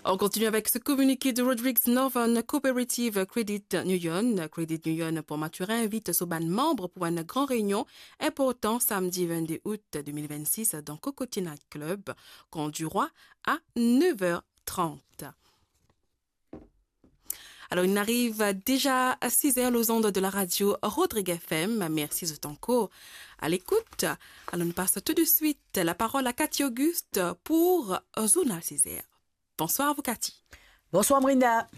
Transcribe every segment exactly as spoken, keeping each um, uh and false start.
On continue avec ce communiqué de Rodrigues Northern Cooperative Credit Union. Credit Union Port-Mathurin invit so bann manm pou enn gran reynion inportan samdi vennde out de mil vennsis dan Cocotier Night Club, Camp du Roi, à neuf heures trente. Alors, il arrive déjà à six heures aux ondes de la radio Rodrigue F M. Merci de ton cours à l'écoute. Alors, nous passons tout de suite la parole à Cathy Auguste pour Journal six heures. Bonsoir à vous, Cathy. Bonsoir, Brenda.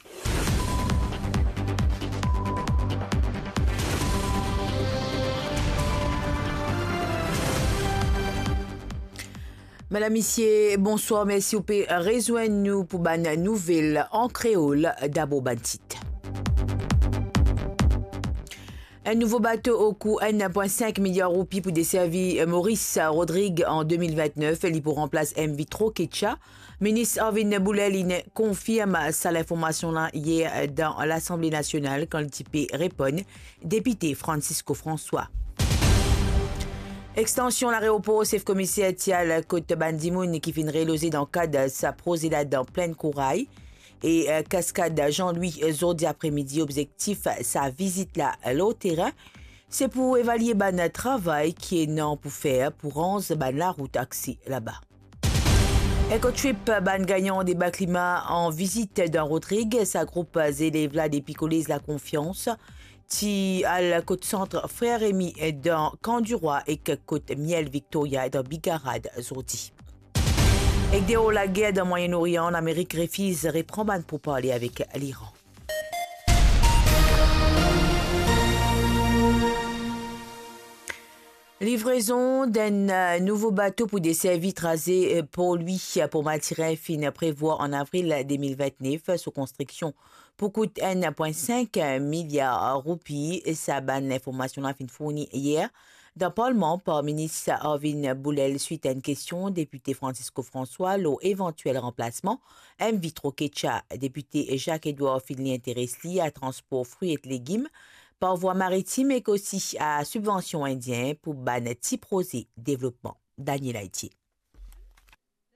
Madam, misie, bonswar, mersi ou pe rezwenn nou pou bann nouvel an kreol. Dabor bann tit. Enn nouvo bato okou enn pwin sink miliar roupi pou deservi Maurice Rodrigue an de mil vintnef, li pou ranplas M V Trokecha. Minis Arvin Boulel inn konfirm sa linformasion la yer dan Lasanble Nasional kan li ti pe reponn depite Francisco François. Extansion laeropor Sef Komiser ti al kot bann dimoun ki finn reloze dan kad sa proze la dan Plinn Koray e, eh, Kaskad Jean-Louis, eh, zordi apremidi. Obzektif sa vizit la lor terin, se pou evalie bann travay ki ena pou fer pou ranz bann larout akse laba. Ecotrip, bann gagnan deba klima an vizit dan Rodrig. Sa group zelev la depi Kolez Lakonfians ti al kot sant Frer Remy dan Camp du Roi ek kot Miel Victoria dan Bigarad zordi. Ek deor lager dan Mwayen Orian, Lamerik refiz repran bann pourparle avek Liran. Livrezon d'enn, eh, nouvo bato pou deservi traze, eh, Port Louis, eh, Port Mathurin finn prevwar an avril de mil vintnef. So konstriksion pou kout enn pwin sink miliar roupi. Sa bann linformasion la finn fourni yer dan Parlman par Minis Arvin Boulel swit enn kestion depite Francisco François lor evantiel ranplasman M V Trokecha. Depite Jacques Edouard finn li interes li a transpor fri ek legim par vwa maritim ek osi a sibvansion indien pou bann ti proze devlopman. Daniel Aitier.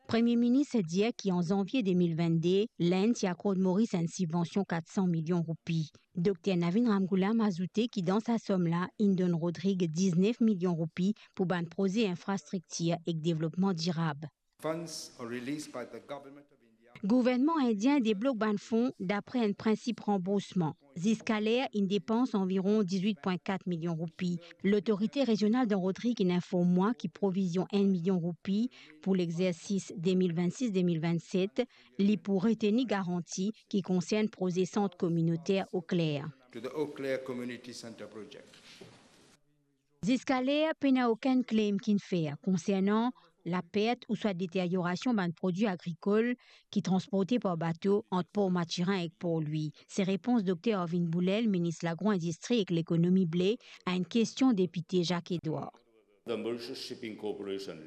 Premie Minis dir ki an zanvie de mil vennde, Lenn ti akord Moris enn sibvansion kat san milion roupi. Dokter Navin Ramgoolam azoute ki dan sa som la, inn donn Rodrig diznef milion roupi pou bann proze infrastriktir ek devlopman dirab. Funds are released by the Government of India. Gouvernman indien deblok bann fon dapre enn prinsip ranboursman. Ziskaler, inn depans anviron dizwit pwin kat milion roupi. Lotorite rezional dan Rodrig inn inform mwa ki provizion enn milion roupi pou lexersis de mil vennsis de mil vennset, li pou reteni garanti ki konsern proze sant kominoter Eau Claire. To the Eau Claire Community Centre project. Ziskaler, pena okenn claim ki'nn fer konsernan lapert ouswa deteriorasion bann prodwi agrikol ki transporte par bato ant Port Mathurin ek Port Louis. Se repons Dokter Arvin Boulel, Minis Lagro-Indistri ek Lekonomi Ble, a enn kestion depite Jacques Edouard. The Mauritius Shipping Corporation Limited.